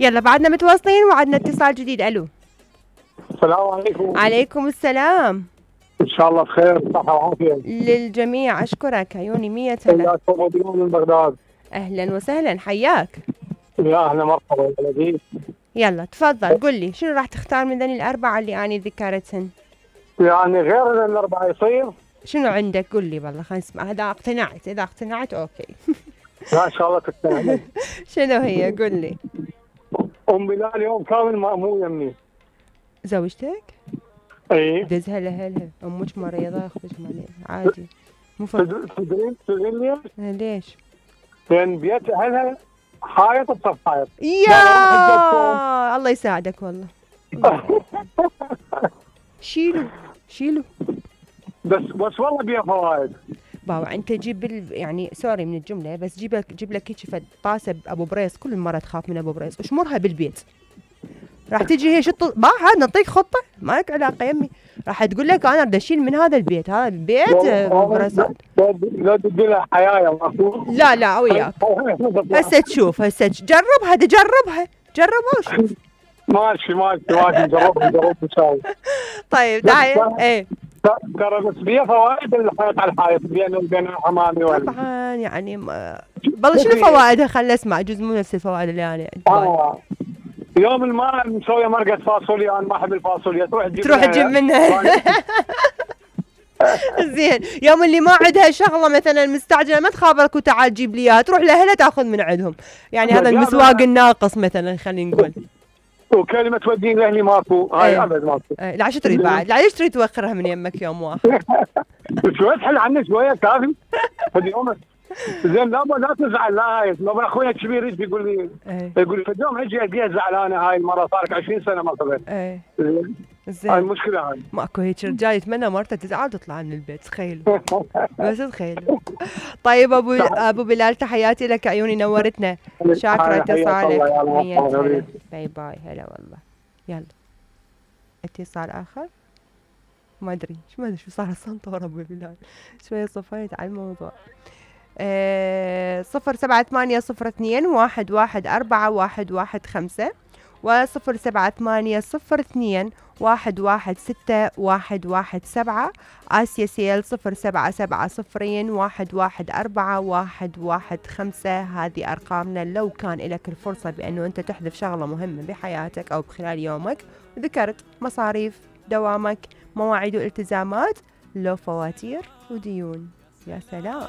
يلا بعدنا متواصلين وعدنا اتصال جديد. الو السلام عليكم. عليكم السلام. ان شاء الله بخير صحة وعافية للجميع. اشكرك عيوني 100 هلا. حياكم ابو من بغداد. اهلا وسهلا حياك. يا اهلا مرحبا يا لذيذ. يلا تفضل قل لي شنو راح تختار من ذني الاربعه اللي اني ذكرتهن؟ يعني غير الاربعه يصير؟ شنو عندك قل لي والله خلينا نسمع. اذا اقتنعت اوكي. لا ان شاء الله تقتنع. شنو هي قل لي. ام بلال اليوم كامل مو يمي. زوجتك؟ اي دزها لها امك مريضه اختك عادي مو تدرين ليش؟ ليش؟ لان بيت اهلها حائط بصف حائط. يا الله يساعدك والله. شيلوا بس والله بيها فوائد. باوع انت جيب يعني سوري من الجمله بس جيب لك هيك فد طاسه ابو بريس. كل مره تخاف من ابو بريس واشمرها بالبيت. راح تجي هي شط ما هذا نعطيك خطه ما لك علاقه يمي. راح تقول لك انا بدي اشيل من هذا البيت. هذا البيت ابو بريس. لا تدي لها حيايا ماكو. لا وياك. هسه تشوف جربها وشوف. ماشي نجرب نساوي. طيب تعال ايه ترى بس بيها فوائد الحائط على الحائط بينه وبين الحمامي طبعا يعني والله شنو فوائدها خلنا اسمع. جزء مو نفس الفوائد اللي انا يوم الماء مسويه مرقه فاصوليا. انا ما احب الفاصوليا. تروح تجيب منها. زين يوم اللي ما عندها شغله مثلا مستعجله ما تخابرك وتعال جيب لي اياها. تروح لاهلها تاخذ من عندهم. يعني هذا المسواق الناقص مثلا خلينا نقول. وكلمه تودين لاهلي ماكو. هاي ابد ماكو. لا عشان تريد بعد. لا ليش تريد توخرها من يمك يوم واحد؟ شويه تحل عني شويه كافي. اليوم زين لا تزعل. لا هاي لو اخوي الكبير يجي يقول لي فاليوم اجي القيها زعلانه. هاي المره صارت 20 سنه ما قبل. زين هاي المشكله. هاي ماكو هيك رجال يتمنى مرته تزعل وتطلع من البيت. تخيلوا بس تخيلوا. طيب ابو بلال تحياتي لك عيوني نورتنا. شاكره اتصالك. باي باي. هلا والله. يلا اتصال اخر. ما ادري شو صار الصنطور ابو بلال. شويه صفيت على الموضوع. 078021141115 و078021161117. آسيا سيل 077001141115. هذه أرقامنا. لو كان لك الفرصة بأنه أنت تحذف شغلة مهمة بحياتك أو بخلال يومك ذكرت مصاريف دوامك مواعيد والتزامات لو فواتير وديون. يا سلام.